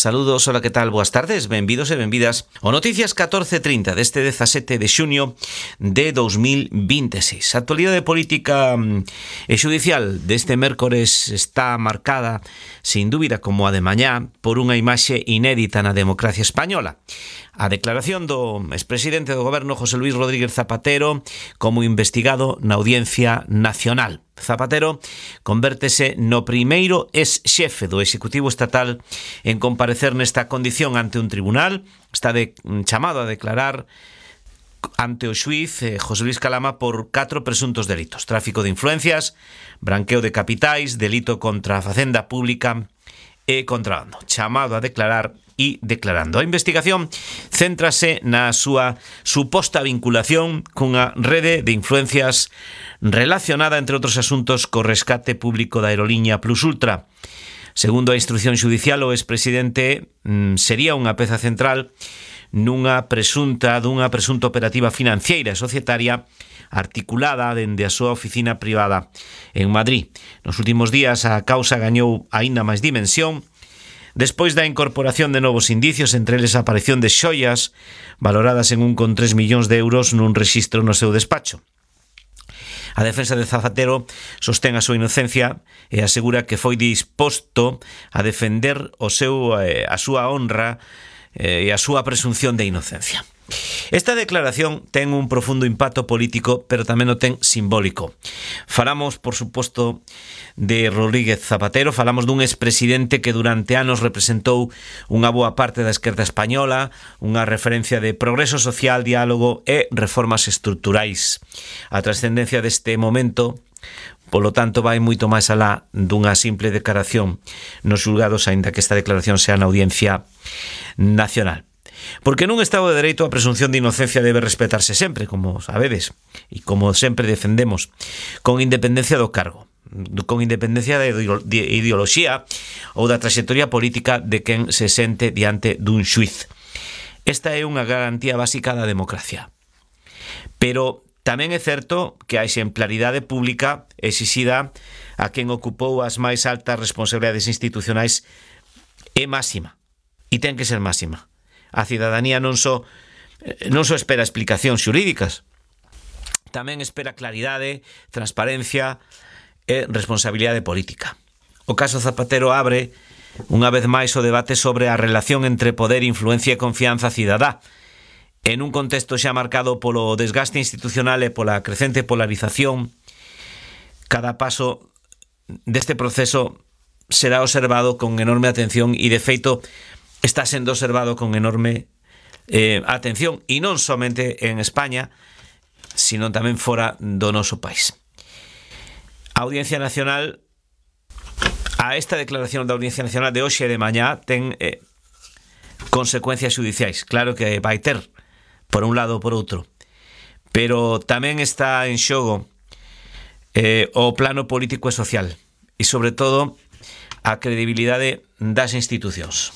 Saludos, hola, que tal? Boas tardes, benvidos e benvidas ao Noticias 1430 deste 17 de xuño de 2026. A actualidade política e xudicial deste mércores está marcada, sin dúbida, como a de mañá, por unha imaxe inédita na democracia española. A declaración do expresidente do goberno José Luis Rodríguez Zapatero como investigado na Audiencia Nacional. Zapatero convértese no primeiro ex-xefe do Executivo Estatal en comparecer nesta condición ante un tribunal. Está chamado a declarar ante o xuíz José Luis Calama por 4 presuntos delitos: tráfico de influencias, branqueo de capitais, delito contra a facenda pública e contrabando. Chamado a declarar e declarando. A investigación céntrase na súa suposta vinculación cunha rede de influencias relacionada, entre outros asuntos, co rescate público da aeroliña Plus Ultra. Segundo a instrucción xudicial, o expresidente sería unha peza central dunha presunta operativa financiera e societaria articulada dende a súa oficina privada en Madrid. Nos últimos días a causa gañou aínda máis dimensión despois da incorporación de novos indicios, entre eles a aparición de xoias valoradas en 1,3 millóns de euros nun rexistro no seu despacho. A defensa de Zapatero sostén a súa inocencia e asegura que foi disposto a defender a súa honra e a súa presunción de inocencia. Esta declaración ten un profundo impacto político, pero tamén o ten simbólico. Falamos, por suposto, de Rodríguez Zapatero, falamos dun expresidente que durante anos representou unha boa parte da esquerda española, unha referencia de progreso social, diálogo e reformas estruturais. A trascendencia deste momento, polo tanto, vai moito máis alá dunha simple declaración nos xulgados, aínda que esta declaración sea na Audiencia Nacional. Porque nun Estado de Dereito a presunción de inocencia debe respetarse sempre, como sabedes, e como sempre defendemos, con independencia do cargo, con independencia de ideoloxía ou da trayectoria política de quen se sente diante dun xuiz. Esta é unha garantía básica da democracia. Pero tamén é certo que a exemplaridade pública exixida a quen ocupou as máis altas responsabilidades institucionais é máxima, e ten que ser máxima. A cidadanía non só espera explicacións xurídicas, tamén espera claridade, transparencia e responsabilidade política. O caso Zapatero abre unha vez máis o debate sobre a relación entre poder, influencia e confianza cidadá, en un contexto xa marcado polo desgaste institucional e pola crecente polarización. Cada paso deste proceso será observado con enorme atención e, de feito, está sendo observado con enorme atención, e non somente en España, sino tamén fora do noso país. A Audiencia Nacional, a esta declaración da Audiencia Nacional de hoxe e de mañá, ten consecuencias judiciais. Claro que vai ter, por un lado ou por outro, pero tamén está en xogo o plano político e social, e sobre todo a credibilidade das institucións.